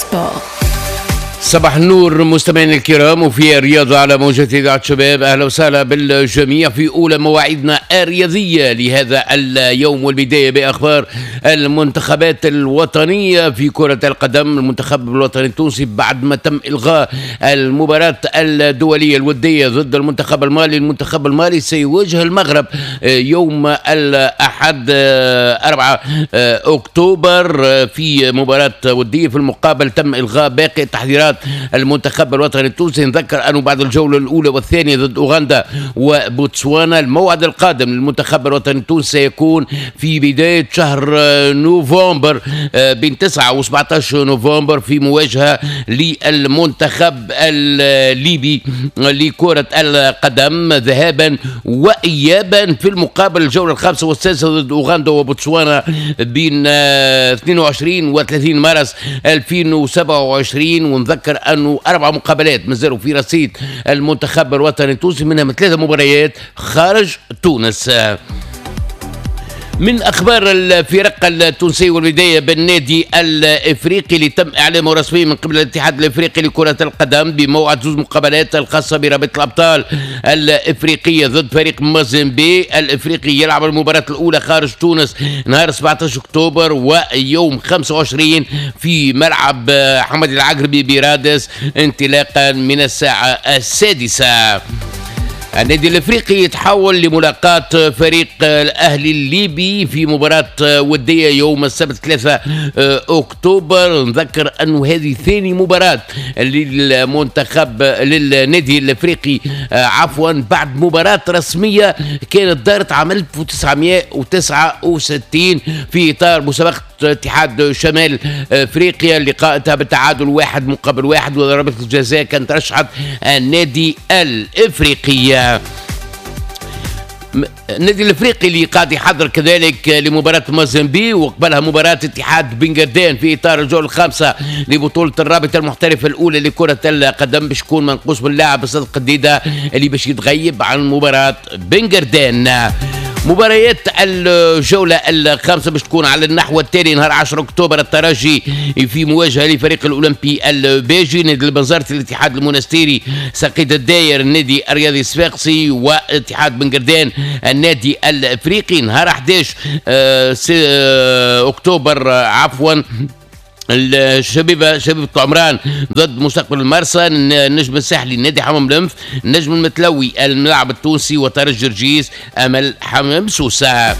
sport. صباح النور مستمعينا الكرام، وفي الرياضة على موجة إذاعة شباب. أهلا وسهلا بالجميع في أولى مواعيدنا الرياضية لهذا اليوم، والبداية بأخبار المنتخبات الوطنية في كرة القدم. المنتخب الوطني التونسي بعد ما تم إلغاء المباراة الدولية الودية ضد المنتخب المالي، المنتخب المالي سيواجه المغرب يوم الأحد 4 أكتوبر في مباراة ودية. في المقابل تم إلغاء باقي التحضيرات المنتخب الوطني التونسي. نذكر أنه بعد الجولة الأولى والثانية ضد أوغندا وبوتسوانا، الموعد القادم للمنتخب الوطني التونسي سيكون في بداية شهر نوفمبر، بين 9 و 17 نوفمبر، في مواجهة للمنتخب الليبي لكرة القدم ذهابا وإيابا. في المقابل الجولة الخامسة والسادسة ضد أوغندا وبوتسوانا بين 22 و 30 مارس 2027. ونذكر أنه 4 مقابلات مازالوا في رصيد المنتخب الوطني التونسي، منها 3 مباريات خارج تونس. من أخبار الفرق التونسية، والبداية بالنادي الإفريقي اللي تم إعلامه رسميا من قبل الاتحاد الإفريقي لكرة القدم بموعد 2 مقابلات الخاصة برابطة الأبطال الإفريقية ضد فريق مازيمبي. الإفريقي يلعب المباراة الأولى خارج تونس نهار 17 أكتوبر ويوم 25 في ملعب حمد العقربي برادس انطلاقا من الساعة 6. النادي الافريقي يتحول لملاقاة فريق الاهلي الليبي في مباراة ودية يوم السبت 3 اكتوبر. نذكر انه هذه ثاني مباراة للمنتخب للنادي الافريقي عفوا بعد مباراة رسمية كانت دارت عام 1969 في اطار مسابقة اتحاد شمال افريقيا. اللقاء انتهى بالتعادل 1-1، وضربة الجزاء كانت رشحت النادي الافريقي. النادي الافريقي اللي قاعد يحضر كذلك لمباراة مازيمبي، وقبلها مباراة اتحاد بنجردان في اطار الجولة الخامسة لبطولة الرابطة المحترفه الاولى لكرة القدم، باش يكون منقوص باللاعب صدق الديده اللي باش يتغيب عن مباراة بنجردان. مباريات الجولة الخامسة باش تكون على النحو التالي: نهار 10 أكتوبر الترجي في مواجهة لفريق الأولمبي الباجي، نادي البنزرتي الاتحاد المونستيري، سقيد الداير النادي الرياضي الصفاقسي، واتحاد بنقردان النادي الأفريقي. نهار 11 أكتوبر عفوا الشبيبة شبيبة عمران ضد مستقبل المرسى، النجم الساحلي نادي حمام الأنف، النجم المتلوي الملعب التونسي، وترجي جرجيس أمل حمام سوسة.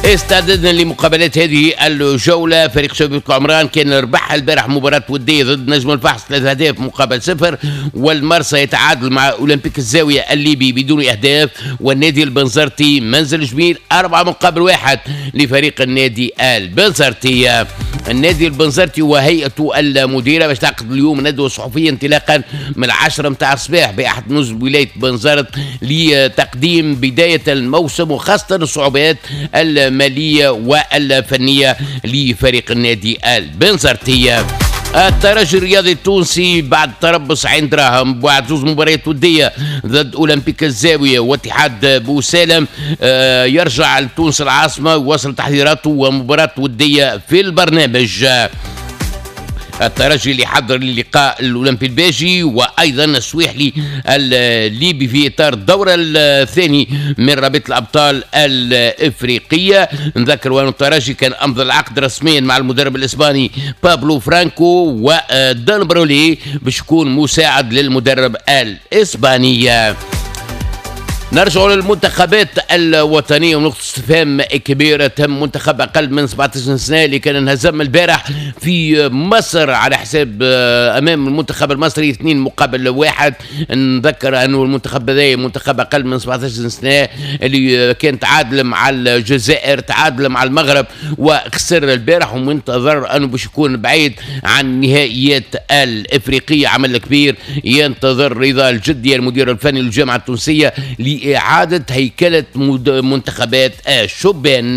استعددنا لمقابلات هذه الجولة. فريق شبيبة عمران كان ربح البارح مباراة ودية ضد نجم الفحص 3 أهداف مقابل 0، والمرسى يتعادل مع أولمبيك الزاوية الليبي بدون أهداف، والنادي البنزرتي منزل جميل 4-1 لفريق النادي البنزرتي. النادي البنزرتي وهيئته المديرة باش تعقد اليوم ندوة صحفية انطلاقا من 10 متاع الصباح بأحد نزل ولاية بنزرت لتقديم بداية الموسم وخاصة الصعوبات المالية والفنية لفريق النادي البنزرتي. الترجي الرياضي التونسي بعد تربص عين دراهم بعد 2 مباريات ودية ضد أولمبيك الزاوية واتحاد بوسالم يرجع لتونس العاصمة ويواصل تحضيراته ومباراة ودية في البرنامج. الترجي اللي حضر للقاء الاولمبي الباجي وايضا السويحلي الليبي في اطار الدور الثاني من رابطه الابطال الافريقية. نذكر وان الترجي كان امضى العقد رسميا مع المدرب الاسباني بابلو فرانكو ودان برولي باش يكون مساعد للمدرب الاسباني. نرجع للمنتخبات الوطنية ونقطة استفهام كبيرة تهم منتخب أقل من 17 سنة اللي كان انهزم البارح في مصر على حساب أمام المنتخب المصري 2-1. نذكر أنه المنتخب هذا منتخب أقل من 17 سنة اللي كان تعادل مع الجزائر، تعادل مع المغرب وخسر البارح، ومنتظر أنه باش يكون بعيد عن النهائيات الإفريقية. عمل كبير ينتظر رضا الجدي المدير الفني للجامعة التونسية لإعادة هيكلة منتخبات الشبان.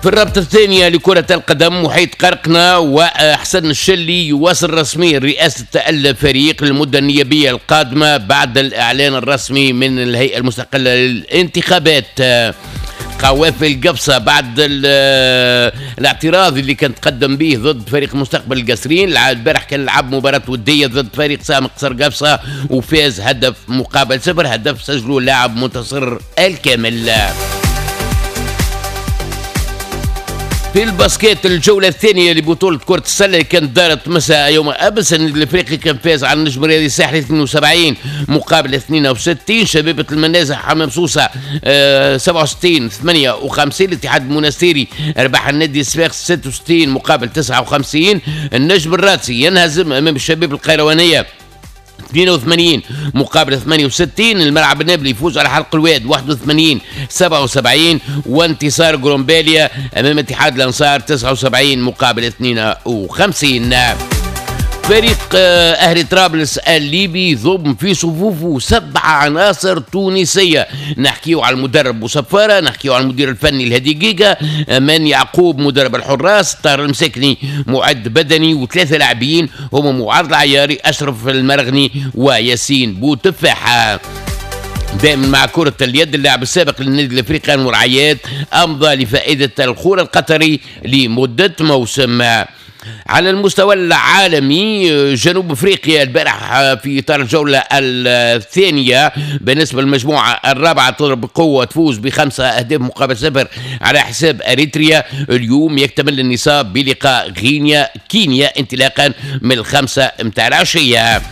في الرابطة الثانية لكرة القدم محيط قرقنا وحسن الشلي يواصل رسميا رئاسة الفريق للمدة النيابية القادمة بعد الإعلان الرسمي من الهيئة المستقلة للانتخابات. قوافل قفصة بعد الاعتراض اللي كان تقدم به ضد فريق مستقبل القصرين، البارح كان لعب مباراة ودية ضد فريق سام قصر قفصة وفاز 1-0، هدف سجله اللاعب منتصر الكامل. في ال basket الجولة الثانية لبطولة كرة السلة اللي كانت دارت مساء يوم أمس، النادي الأفريقي كان فاز على النجم الرياضي الساحلي 72 مقابل 62، شبيبة المنازه حمام سوسة 67-58، الاتحاد المنستيري ربح النادي الصفاقسي 66 مقابل 59، النجم الرادسي ينهزم أمام الشباب القيروانية 82 مقابل 68، الملعب النابلي يفوز على حلق الواد 81-77، وانتصار جرومباليا امام اتحاد الانصار 79 مقابل 52. فريق اهلي طرابلس الليبي ضم في صفوفه 7 عناصر تونسية، نحكيو على المدرب بوصفاره، نحكيو على المدير الفني الهادي جيجا، مان يعقوب مدرب الحراس، طاهر المساكني معد بدني، و3 لاعبين هما معاذ العياري، اشرف المرغني، وياسين بوتفاحه. دائما مع كرة اليد، اللاعب السابق للنادي الافريقي انور عياد امضى لفائدة الخور القطري لمدة موسم. على المستوى العالمي، جنوب افريقيا البارح في اطار الجولة الثانية بالنسبة للمجموعة الرابعة تضرب بقوة، تفوز ب5 أهداف مقابل 0 على حساب اريتريا. اليوم يكتمل النصاب بلقاء غينيا كينيا انطلاقا من 5 متاع العشية.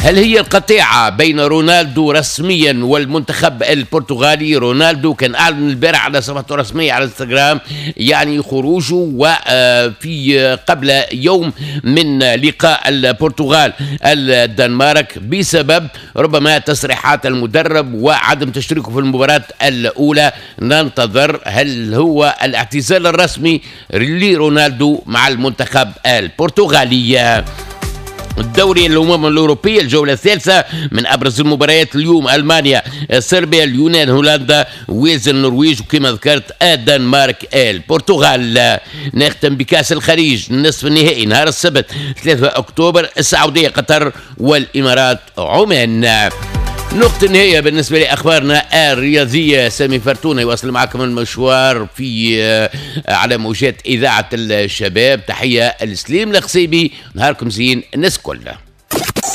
هل هي القطيعة بين رونالدو رسميا والمنتخب البرتغالي؟ رونالدو كان أعلن البارح على صفحته الرسمية على انستغرام يعني خروجه، وفي قبل يوم من لقاء البرتغال الدنمارك بسبب ربما تصريحات المدرب وعدم تشريكه في المباراة الأولى. ننتظر هل هو الاعتزال الرسمي لرونالدو مع المنتخب البرتغالي. الدوري الأمم الأوروبية الجولة الثالثة من أبرز المباريات اليوم: ألمانيا صربيا، اليونان هولندا، ويلز النرويج، وكما ذكرت الدنمارك البرتغال. نختم بكأس الخليج النصف النهائي نهار السبت 3 أكتوبر، السعودية قطر والإمارات عمان. نقطة النهاية بالنسبة لأخبارنا الرياضية. سامي فرتونة يواصل معكم المشوار في على موجات إذاعة الشباب. تحية لسليم القصيبي، نهاركم زين الناس كلها.